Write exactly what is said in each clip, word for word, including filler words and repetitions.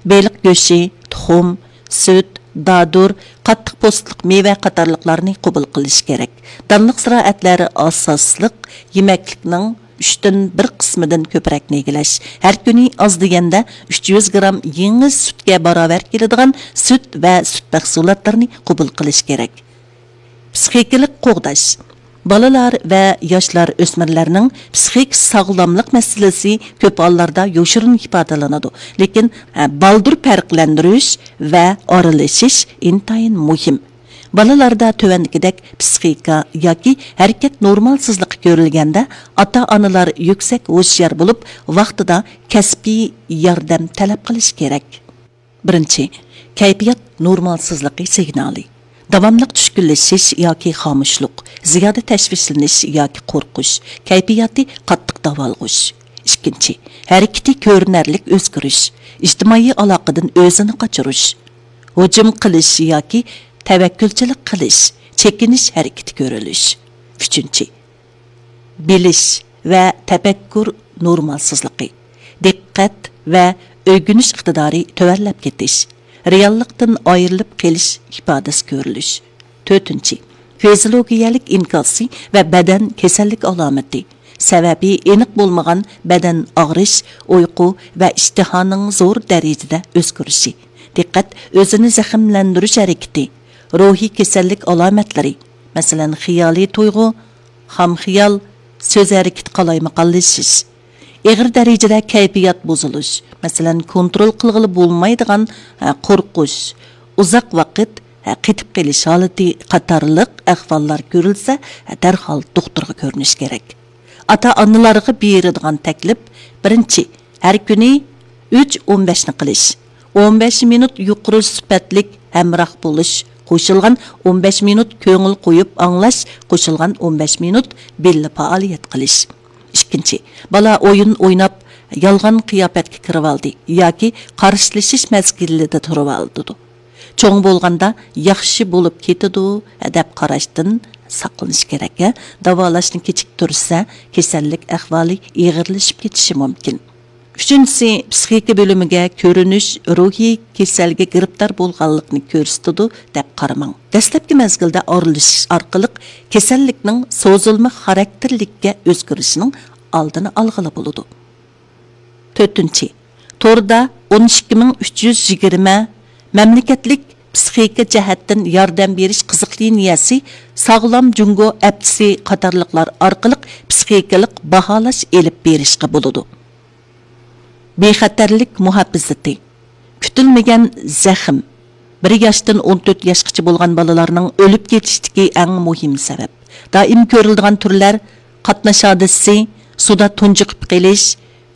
بېلىق گۆشى، تۇخۇم، سۈت، دادۇر، قاتتىق پوستلۇق مېۋە قاتارلىقلارنى قوبۇل قىلىش كېرەك. دانلىق زىرائەتلەر ئاساسلىق يېمەكلىكنىڭ ئۈچتىن بىر قىسمىدىن كۆپرەكنى ئىگىلەش. ھەر كۈنى ئاز دېگەندە ئۈچ يۈز گرام يېڭى سۈتكە باراۋەر كېلىدىغان سۈت ۋە سۈت مەھسۇلاتلىرىنى قوبۇل قىلىش كېرەك. پسىخىكىلىق قوغداش. بالىلار ۋە ياشلار، ئۆسمۈرلەرنىڭ پسىخىك ساغلاملىق مەسىلىسى كۆپ ھاللاردا يوشۇرۇن ئىپادىلىنىدۇ. لېكىن، ھە، بالدۇر پەرقلەندۈرۈش ۋە ئارىلىشىش ئىنتايىن مۇھىم. بالىلاردا تۆۋەندىكىدەك پسىخىكا ياكى ھەرىكەت نورمالسىزلىقى كۆرۈلگەندە، ئاتا-ئانىلار يۈكسەك ھوشيار بولۇپ، ۋاقتىدا كەسپىي ياردەم تەلەپ قىلىشى كېرەك. بىرىنچى، كەيپىيات نورمالسىزلىقى سىگنالى. داۋاملىق چۈشكۈنلىشىش ياكى خامۇشلۇق، زىيادە تەشۋىشلىنىش ياكى قورقۇش، كەيپىياتى قاتتىق داۋالغۇش. ئىككىنچى، ھەرىكىتى كۆرۈنەرلىك ئۆزگىرىش، ئىجتىمائىي ئالاقىدىن ئۆزىنى قاچۇرۇش، ھۇجۇم قىلىش ياكى تەۋەككۈلچىلىك قىلىش، چېكىنىش ھەرىكىتى كۆرۈلۈش. ئۈچىنچى، بىلىش ۋە تەپەككۇر نورمالسىزلىقى، دىققەت ۋە ئۆگىنىش ئىقتىدارى تۆۋەنلەپ كېتىش، رېئاللىقتىن ئايرىلىپ قېلىش ئىپادىسى كۆرۈلۈش. تۆتىنچى، فىزىيولوگىيەلىك ئىنكاسى ۋە بەدەن كېسەللىك ئالامىتى، سەۋەبى ئېنىق بولمىغان بەدەن ئاغرىش، ئۇيقۇ ۋە ئىشتىھانىڭ زور دەرىجىدە ئۆزگىرىشى، دىققەت ئۆزىنى زەخىملەندۈرۈش ھەرىكىتى، روھىي كېسەللىك ئالامەتلىرى، مەسىلەن، خىيالىي تۇيغۇ، خام خىيال، سۆز ھەرىكىتى قالايمىقانلىشىش، ئېغىر دەرىجىدە كەيپىيات بۇزۇلۇش، مەسىلەن، كونترول قىلغىلى بولمايدىغان، ھە، قورقۇش، ئۇزاق ۋاقىت، ھە، قېتىپ قېلىش ھالىتى قاتارلىق ئەھۋاللار كۆرۈلسە، ھە، دەرھال دوختۇرغا كۆرۈنۈش كېرەك. ئاتا-ئانىلارغا بېرىدىغان تەكلىپ: بىرىنچى، ھەر كۈنى ئۈچ ئون بەشنى قىلىش، ئون بەش مىنۇت يۇقىرى سۈپەتلىك ھەمراھ بولۇش، قوشۇلغان ئون بەش مىنۇت كۆڭۈل قويۇپ ئاڭلاش، قوشۇلغان ئون بەش مىنۇت بىللە پائالىيەت قىلىش. ئىككىنچى، بالا ئويۇن ئويناپ، يالغان قىياپەتكە كىرىۋالدى ياكى قارشىلىشىش مەزگىلىدە تۇرۇۋالىدۇ. چوڭ بولغاندا ياخشى بولۇپ كېتىدۇ، دەپ قاراشتىن ساقلىنىش كېرەك. داۋالاشنى كېچىكتۈرسە، كېسەللىك ئەھۋالى ئېغىرلىشىپ كېتىشى مۇمكىن. ئۈچىنچىسى، پسىخىكا بۆلۈمىگە كۆرۈنۈش روھىي كېسەلگە گىرىپتار بولغانلىقنى كۆرسىتىدۇ، دەپ قارىماڭ. دەسلەپكى مەزگىلدە ئارىلىشىش ئارقىلىق كېسەللىكنىڭ سوزۇلما خاراكتېرلىككە ئۆزگىرىشىنىڭ ئالدىنى ئالغىلى بولىدۇ. تۆتىنچى، توردا ئون ئىككى مىڭ ئۈچ يۈز يىگىرمە مەملىكەتلىك پسىخىكا جەھەتتىن ياردەم بېرىش قىزىق لىنىيەسى، ساغلام جۇڭگو ئەپچىسى قاتارلىقلار ئارقىلىق پسىخىكىلىق باھالاش ئېلىپ بېرىشقا بولىدۇ. بىخەتەرلىك مۇھاپىزىتى. كۈتۈلمىگەن زەخىم. بىر ياشتىن ئون تۆت ياشقىچە بولغان بالىلارنىڭ ئۆلۈپ كېتىشتىكى ئەڭ مۇھىم سەۋەب. دائىم كۆرۈلىدىغان تۈرلەر: قاتناش ھادىسىسى، سۇدا تۇنجۇقۇپ قېلىش،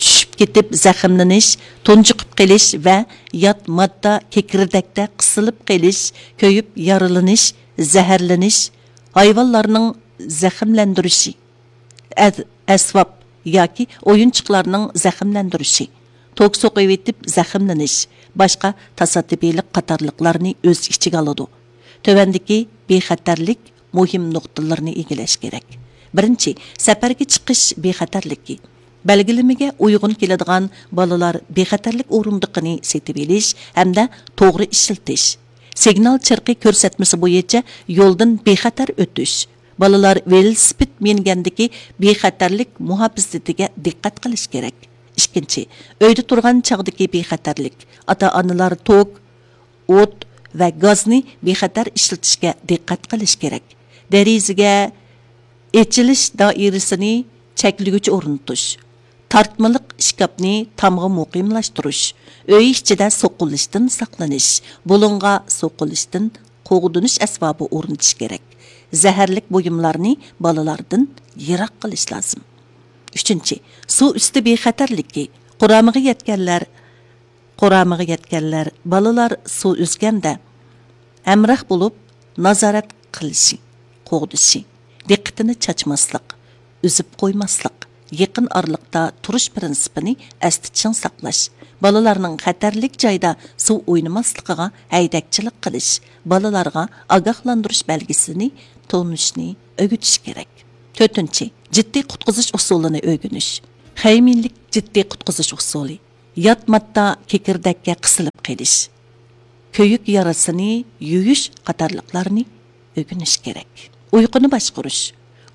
چۈشۈپ كېتىپ زەخىملىنىش، تۇنجۇقۇپ قېلىش ۋە يات ماددا كېكىردەكتە قىسىلىپ قېلىش، كۆيۈپ يارىلىنىش، زەھەرلىنىش، ھايۋانلارنىڭ زەخىملەندۈرۈشى، ئەس-، ئەسۋاب ياكى ئويۇنچۇقلارنىڭ زەخىملەندۈرۈشى، توك سوقۇۋېتىپ زەخىملىنىش، باشقا تاسادىپىيلىق قاتارلىقلارنى ئۆز ئىچىگە ئالىدۇ. تۆۋەندىكى بىخەتەرلىك مۇھىم نۇقتىلىرىنى ئىگىلەش كېرەك. بىرىنچى، سەپەرگە چىقىش بىخەتەرلىكى. بەلگىلىمىگە ئۇيغۇن كېلىدىغان بالىلار بىخەتەرلىك ئورۇندۇقىنى سېتىۋېلىش ھەمدە توغرا ئىشلىتىش. سىگنال چىرىقى كۆرسەتمىسى بويىچە يولدىن بىخەتەر ئۆتۈش. بالىلار ۋېلىسىپىت مىنگەندىكى بىخەتەرلىك مۇھاپىزىتىگە دىققەت قىلىش كېرەك. ئىككىنچى، ئۆيدە تۇرغان چاغدىكى بىخەتەرلىك. ئاتا-ئانىلار توك، ئوت ۋە گازنى بىخەتەر ئىشلىتىشكە دىققەت قىلىش كېرەك. دېرىزىگە ئېچىلىش دائىرىسىنى چەكلىگۈچ ئورنىتىش، تارتمىلىق ئىشكاپنى تامغا مۇقىملاشتۇرۇش، ئۆي ئىچىدە سوقۇلۇشتىن ساقلىنىش، بۇلۇڭغا سوقۇلۇشتىن قوغدىنىش ئەسۋابى ئورنىتىش كېرەك. زەھەرلىك بۇيۇملارنى بالىلاردىن يىراق قىلىش لازىم. ئۈچىنچى، سۇ ئۈستى بىخەتەرلىكى. قۇرامىغا يەتكەنلەر، قۇرامىغا يەتكەنلەر بالىلار سۇ ئۈزگەندە ھەمراھ بولۇپ نازارەت قىلىشى، قوغدىشى، دىققىتىنى چاچماسلىق، ئۈزۈپ قويماسلىق، يېقىن ئارىلىقتا تۇرۇش پىرىنسىپىنى ئەستە چىڭ ساقلاش، بالىلارنىڭ خەتەرلىك جايدا سۇ ئوينىماسلىقىغا ھەيدەكچىلىك قىلىش، بالىلارغا ئاگاھلاندۇرۇش بەلگىسىنى تونۇشنى ئۆگىتىش كېرەك. تۆتىنچى، جىددىي قۇتقۇزۇش ئۇسۇلىنى ئۆگىنىش. خەيمىنلىك جىددىي قۇتقۇزۇش ئۇسۇلى. يات ماددا كېكىردەككە قىسىلىپ قېلىش، كۆيۈك يارىسىنى يۇيۇش قاتارلىقلارنى ئۆگىنىش كېرەك. ئۇيقۇنى باشقۇرۇش.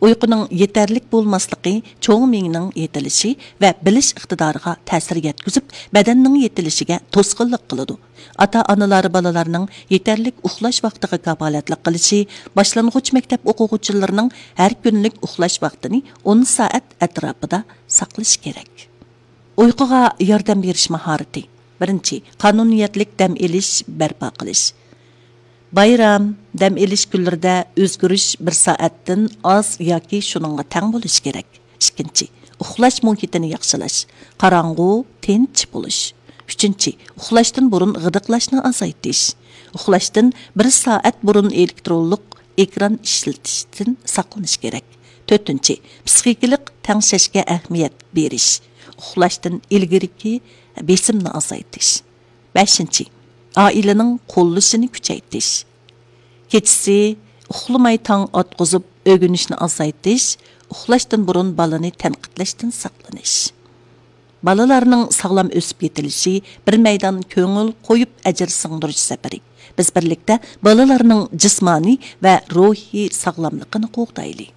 ئۇيقۇنىڭ يېتەرلىك بولماسلىقى چوڭ مېڭىنىڭ يېتىلىشى ۋە بىلىش ئىقتىدارىغا تەسىر يەتكۈزۈپ، بەدەننىڭ يېتىلىشىگە توسقۇنلۇق قىلىدۇ. ئاتا-ئانىلار بالىلارنىڭ يېتەرلىك ئۇخلاش ۋاقتىغا كاپالەتلىك قىلىشى، باشلانغۇچ مەكتەپ ئوقۇغۇچىلىرىنىڭ ھەر كۈنلۈك ئۇخلاش ۋاقتىنى ئون سائەت ئەتراپىدا ساقلىشى كېرەك. ئۇيقۇغا ياردەم بېرىش ماھارىتى. بىرىنچى، قانۇنىيەتلىك دەم ئېلىش بەرپا قىلىش. بايرام، دەم ئېلىش كۈنلىرىدە ئۆزگىرىش بىر سائەتتىن ئاز ياكى شۇنىڭغا تەڭ بولۇشى كېرەك. ئىككىنچى، ئۇخلاش مۇھىتىنى ياخشىلاش، قاراڭغۇ، تىنچ بولۇش. ئۈچىنچى، ئۇخلاشتىن بۇرۇن غىدىقلاشنى ئازايتىش. ئۇخلاشتىن بىر سائەت بۇرۇن ئېلېكترونلۇق ئېكران ئىشلىتىشتىن ساقلىنىش كېرەك. تۆتىنچى، پسىخىكىلىق تەڭشەشكە ئەھمىيەت بېرىش. ئۇخلاشتىن ئىلگىرىكى بېسىمنى ئازايتىش. بەشىنچى، ئائىلىنىڭ قوللىشىنى كۈچەيتىش. كېچىسى ئۇخلىماي تاڭ ئاتقۇزۇپ ئۆگىنىشنى ئازايتىش، ئۇخلاشتىن بۇرۇن بالىنى تەنقىدلەشتىن ساقلىنىش. بالىلارنىڭ ساغلام ئۆسۈپ يېتىلىشى بىر مەيدان كۆڭۈل قويۇپ ئەجىر سىڭدۈرۈش سەپىرى. بىز بىرلىكتە بالىلارنىڭ جىسمانىي ۋە روھىي ساغلاملىقىنى قوغدايلى.